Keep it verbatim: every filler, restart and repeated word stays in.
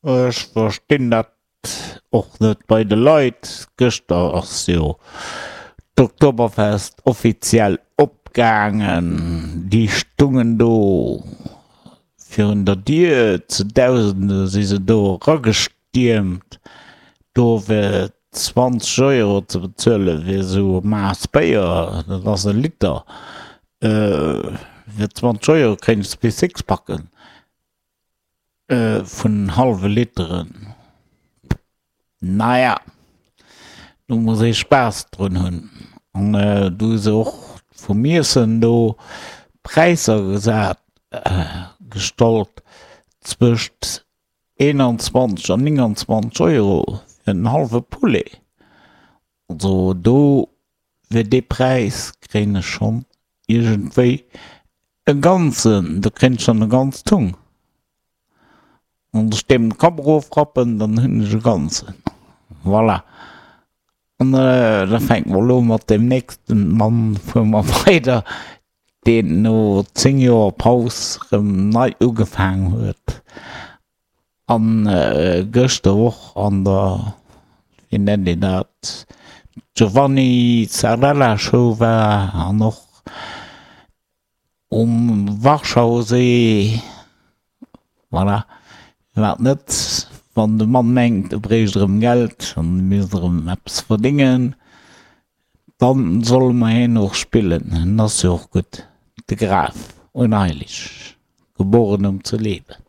Ech verstinn dat och net bei de Leit. Gëschter ass jo d'Oktoberfest offiziell opgaangen. Déi stungen do virun der Dier, zu Dausende si se do eragestiermt, do fir zwanzeg Euro ze bezuelen fir esou e Maass Béier, dat ass e Liter, fir zwanzeg Euro kréint s zwee Sixpacken. Vun hallwe Literen. Naja, do muss ee Spaass drun hunn. An do hu se och vum Iessen do Präisser gesat, gestallt zwëscht eenanzwanzeg an nénganzwanzeg Euro fir en hallwe Poulet. Also do fir dee Präis kréien ech schonn iergendwéi e ganzen, do kréien ech schonn e ganzt Hung. Wann ech deem de Kapp erofrappen, dann hunn ech e ganzen. Voilà. An da fänke mer elo mat deem nächsten Mann, fuere mer weider, deen no zéng Joer Paus erëm nei ugefaang huet an gëschter och an der, wéi nennt een dat, Giovanni Zarrella Show war an och um Warschaussee. Voilà, firwat net, wann de Mann mengt e bréicht erëm Geld an e misst erëm eppes verdéngen, dann solle mer hien och spillen, en ass jo och gutt, de Graf Unheilig, geboren um ze leben.